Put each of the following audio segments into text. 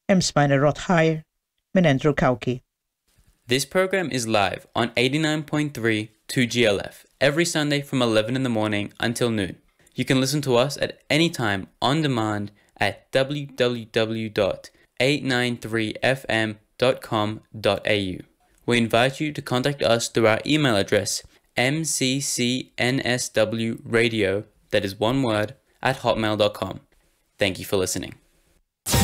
Hemm smajna Rodd Ħajr minn Andrew Cauchi. This program is live on 89.3 2GLF every Sunday from 11 in the morning until noon. You can listen to us at any time on demand at www.893fm.com.au. We invite you to contact us through our email address mccnswradio, that is one word, at hotmail.com. Thank you for listening.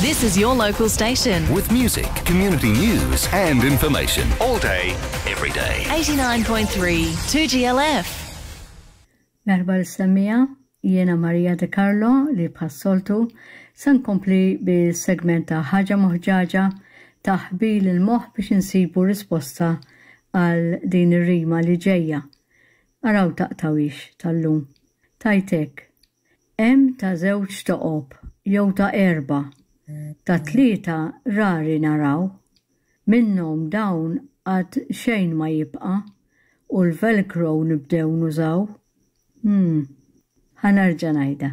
This is your local station. With music, community news, and information all day, every day. 89.3 2GLF. Merħba lis-semmiegħa, jiena Maria De Carlo li bħas-soltu se nkompli bis-segment ta' Ħaġa Moħġaġa ta' ħbil il-moħħ biex insibu risposta għal din ir-rima li ġejja. Araw taqtgħuhiex tal-lum. Tgħid hekk, Hemm ta' żewġ toqob jew ta' erbgħa, ta' tlieta rari naraw. Minnhom dawn għad xejn ma jibqa' u l-velcro nibdew nużaw. Hm. Ħa nerġa' ngħidha.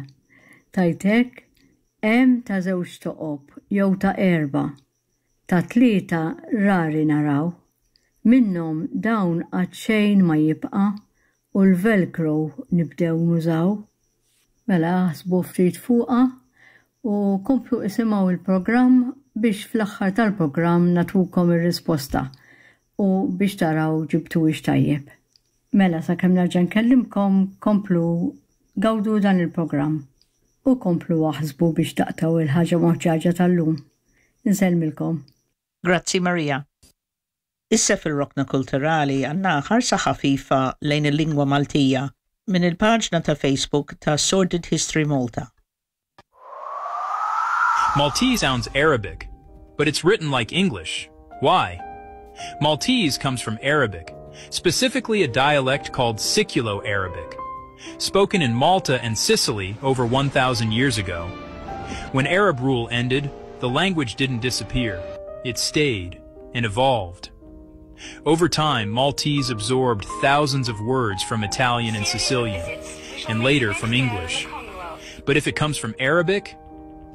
Tgħid hekk, hemm ta' żewġ toqob jew ta' erbgħa, ta' tlieta rari naraw. Minnhom dawn għad xejn ma jibqa' u l-velcro nibdew nużaw. Mela aħsbu ftit fuqha u komplu isimgħu il-programm biex fl-aħħar tal-programm nagħtukom ir-risposta u biex taraw ġibtuhiex tajjeb. Mela sakemm nerġa' nkellimkom komplu gawdu dan il-programm u komplu aħsbu biex taqtgħu il-ħaġa moħġaġa tal-lum. Insellmilkom. Grazzi Maria. Issa fir-Rokna Kulturali għandna ħarsa ħafifa lejn il-lingwa Maltija minn il-paġna ta' Facebook ta' Sordid History Malta. Maltese sounds Arabic, but it's written like English. Why? Maltese comes from Arabic, specifically a dialect called Siculo-Arabic, spoken in Malta and Sicily over 1,000 years ago. When Arab rule ended, the language didn't disappear. It stayed and evolved. Over time, Maltese absorbed thousands of words from Italian and Sicilian, and later from English. But if it comes from Arabic,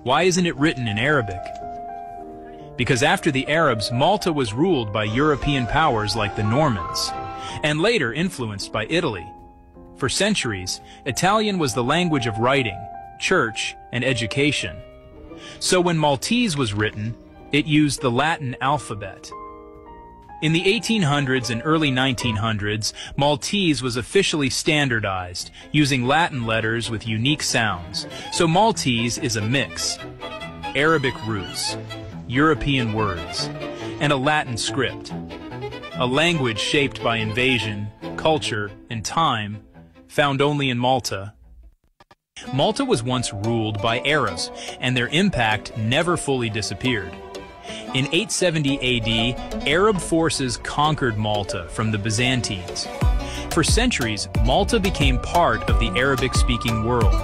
why isn't it written in Arabic? Because after the Arabs, Malta was ruled by European powers like the Normans, and later influenced by Italy. For centuries, Italian was the language of writing, church, and education. So when Maltese was written, it used the Latin alphabet. In the 1800s and early 1900s, Maltese was officially standardized, using Latin letters with unique sounds. So Maltese is a mix. Arabic roots, European words, and a Latin script. A language shaped by invasion, culture, and time, found only in Malta. Malta was once ruled by Arabs, and their impact never fully disappeared. In 870 AD, Arab forces conquered Malta from the Byzantines. For centuries, Malta became part of the Arabic-speaking world.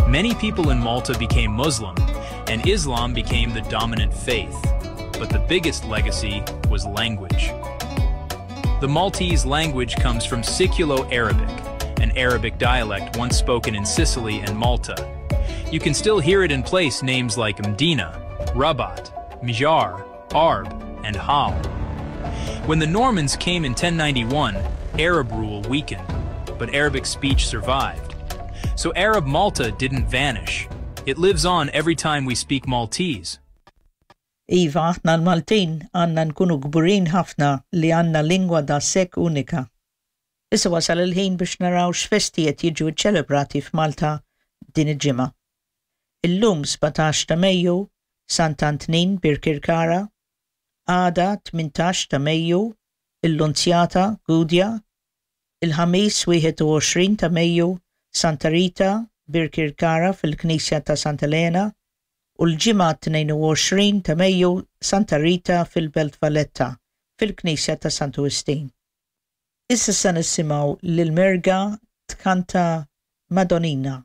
Many people in Malta became Muslim, and Islam became the dominant faith. But the biggest legacy was language. The Maltese language comes from Siculo-Arabic, an Arabic dialect once spoken in Sicily and Malta. You can still hear it in place names like Mdina, Rabat, Mġarr, Għarb, and Hal. When the Normans came in 1091, Arab rule weakened, but Arabic speech survived. So Arab Malta didn't vanish. It lives on every time we speak Maltese. Iva, aħna l-Maltin għandna nkunu kburin ħafna li għandna lingwa daqshekk unika. Issa wasal il-ħin biex naraw x'festi qed jiġu ċċelebrati f'Malta din il-ġimgħa. Illum 17 ta' Mejju, Sant'Antnin Birkirkara, għada 18 ta' Mejju, il-Lunzjata, Gudja, il-Ħamis 21 ta' Mejju, Santa Rita, Birkirkara fil-Knisja ta' Santa Elena, u l-Ġimgħa 22 ta' Mejju Santa Rita fil-Belt Valletta fil-Knisja ta' Santu Wistin. Issa se nisimgħu lil Mirga tkanta Madonnina.